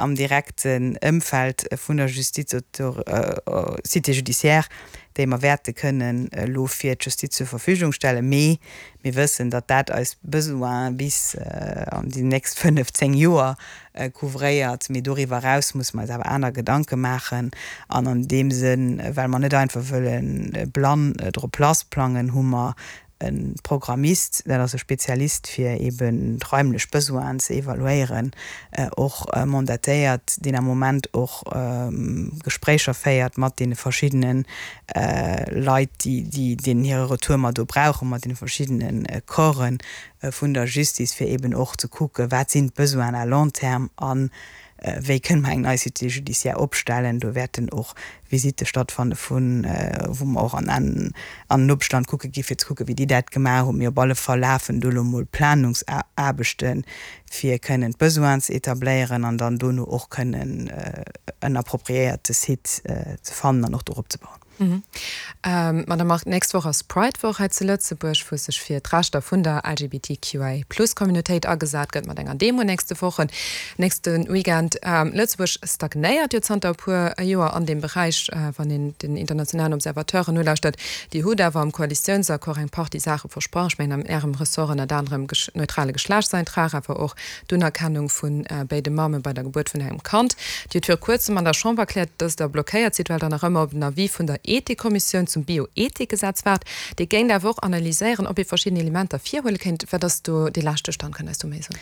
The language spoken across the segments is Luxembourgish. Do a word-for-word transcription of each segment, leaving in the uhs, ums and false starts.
am direkten Ëmfeld vun der Justiz, Cité judiciaire, déi mer wäerte kënnen elo fir d'Justiz zur Verfügung stellen. Mee mir wëssen, datt dat eis Besoine bis an déi nächst fënnef, zéng Joer couvréiert. Mee doriwwer eraus musse mer eis awer aner Gedanke maachen. An an deem Sënn, well mer net einfach wëlle blann drop lassplangen, hu mer e Programmist, dat ass e Spezialist fir eben d'raimlech Besoinen ze evaluéieren, och mandatéiert, deen am Moment och Gespréicher féiert mat deene verschiddene Leit, déi, deenen hire Retour mer do brauchen, mat deene verschiddene Corpsen vun der Justice, fir eben och ze kucken, wat sinn d'Besoinen à long terme a wéi kënne mer eng nei Cité judiciaire opstellen. Do wäerten och Visitte stattfanne vun, wou mer och an an Nopeschland kucke gi fir ze kucke wéi déi dat gemaach hunn. Mee op alle Fall lafen do elo mol Planungsaarbechte fir kënnen d'Besoinen ze etabléieren an dann dono och kënnen en appropriéierte Site ze fannen an och dorop ze bauen. Madame Margue, d'nächst Woch ass Pride-Woch hei zu Lëtzebuerg, wou sech fir d'Rechter vun der L G B T Q I Plus Communautéit agesat gëtt mat enger Demo nächste Wochen, nächste Weekend. Lëtzebuerg stagnéiert jo zanter e puer Joer an deem Beräich, wann een den internationalen Observateuren nolauschtert. Dir hutt awer am Koalitiounsaccord eng Partie Saache versprach, ech mengen an Ärem Ressort ënnert anerem neutrale Geschlechtseintrag, awer och d'Unerkennung vu béide Mamme bei der Gebuert vun engem Kand. Dir hutt viru kuerzem an der Chamber erkläert, dass Der blockéiert sidd, well Der nach ëmmer op den Avis vun der Ethikkommissioun zum Bioethikgesetz waart. Déi géing awer och analyséieren, ob ee verschidden Elementer virhuele kéint. Wat ass do dee leschte Stand, kënnt eis do méi soen?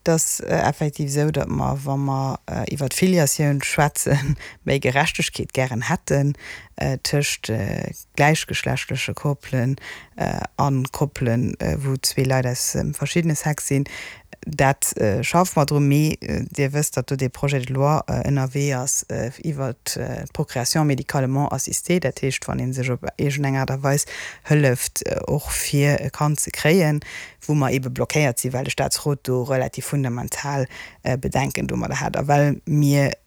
Et ass effektiv esou, datt mer, wa mer iwwert d'Filiatioun schwätzen, méi Gerechtegkeet gären hätten tëscht gläichgeschlechtleche Koppelen a Koppelen, wou zwee Leit aus verschiddene Sexe sinn. Dat schaffe mer drun. Mee Dir wësst, datt do dee Projet de loi ënnerwee ass iwwert d'Procréation médicalement assistée, dat heescht, wann ee sech op iergendeng Aart a Weis hëlleft, och fir e Kand ze kréien, wou mer eebe blockéiert sinn, well de Staatsrot do relativ fundamental Bedenken domadder hat a well mir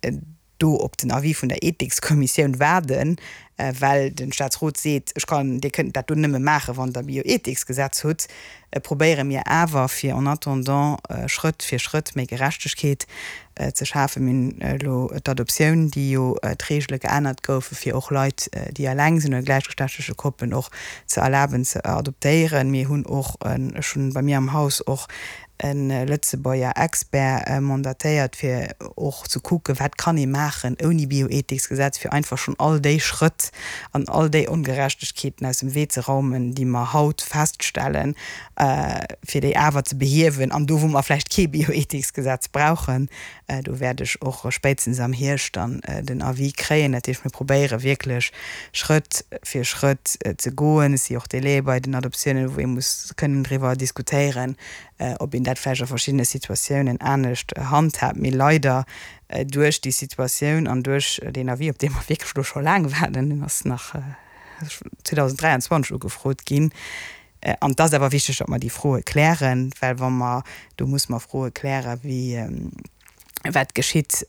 do op den Avis vun der Ethikskommissioun waarden, well de Staatsrot seet, ech kann, Dir kënnt dat do nëmme maachen, wann Der e Bioethiksgesetz hutt, probéiere mir awer, fir en attendant Schrëtt fir Schrëtt méi Gerechtegkeet ze schafen. Mir hunn elo d'Adoptioun, déi jo d'Reegele geännert goufe fir och Leit, déi eleng sinn oder gläichgeschlechtleche Koppelen och ze erlaben ze adoptéieren. Mir hunn och, ech hunn bei mir am Haus och e Lëtzebuerger Expert mandatéiert, fir och ze kucken, wat kann ee maachen ouni Bioethiksgesetz, fir einfach schonn all déi Schrëtt an all déi Ongerechtegkeeten aus dem Wee ze raumen, déi mer haut feststellen, fir déi awer ze behiewen. An do, wou mer vläicht kee Bioethiksgesetz brauchen, do wäert ech och spéitstens am Hierscht dann den Avis kréien. Dat heescht, mir probéiere wierklech Schrëtt fir Schrëtt ze goen. Et si och Délaië bei den Adoptiounen, wou ee muss kënnen driwwer diskutéieren, ob een dat vläicht a verschiddene Situatiounen anescht handhaabt. Mee leider duerch déi Situatioun an duerch deen Avis, op dee mer wierklech elo scho laang waarden, deen ass nach zweedausenddräianzwanzeg ugefrot ginn, an et ass awer wichteg, datt mer déi Froe klären, well wa mer, do musse mer Froe klären, wéi wat geschitt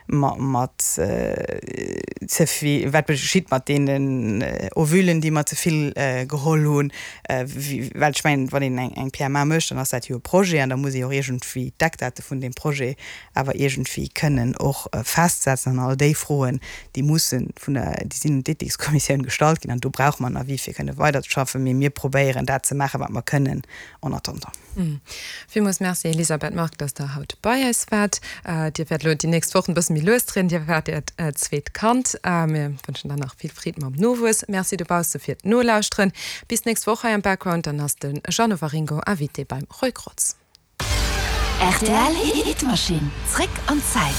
mat ze vill, wat geschitt mat deenen Ovulen, déi mer ze vill geholl hunn, well ech mengen, wann een eng P M A mécht, dann ass dat jo e Projet an da muss ee och iergendwéi d'Eckdate vun deem Projet awer iergendwéi kënnen och festsetzen. An all déi Froen, déi mussen vun der, déi sinn un d'Ethikskommissioun gestallt ginn an do brauche mer en Avis, fir kënne weiderzeschaffen. Mee mir probéieren dat ze maachen, wat mer kënnen en attendant. Villmools Merci, Elisabeth Margue, dass Der haut bei eis waart. Dir wäert elo déi nächst Wochen e bësse méi lues dréinen. Dir erwaart Äert zweet Kand. Mir wënschen der nach vill Freed mam Nowuess. Merci dobausse fir d'Nolauschteren. Bis d'nächst Woch hei am Background, dann ass de Jeannot Waringo Invité beim Roy Grotz. R T L Hitmaschinn, zréck an d'Zäit.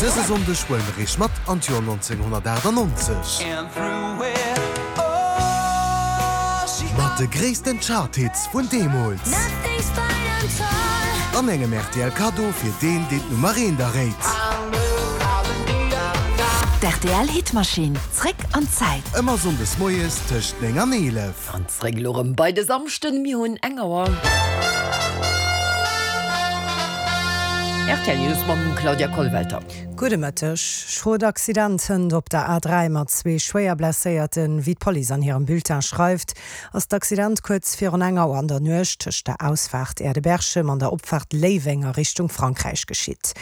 Dëse Sonndeg huele mir iech mat an d'Joer nonzénghonnertaachtannonzeg. Mat de gréissten Charthits vun deemools. An engem R T L Kaddo fir deen, deen d'Nummer eent erréit. D' R T L Hitmaschinn, zréck an d'Zäit. Ëmmer sonndes moies tëscht néng an eelef. An zréck elo rëm bei de Samschden, mir hunn eng Auer. R T L News mam Claudia Kollwelter. Gudde Mëtteg. Schrot Accident hënt op der A dräi mat zwee schwéier Blesséierten. Wéi d'Police an hirem Bulletin schreift, ass d'Accident kuerz virun eng Auer an der Nuecht tëscht der Ausfaart Aire de Berchem an der Opfaart Léiweng a Richtung Frankräich geschitt.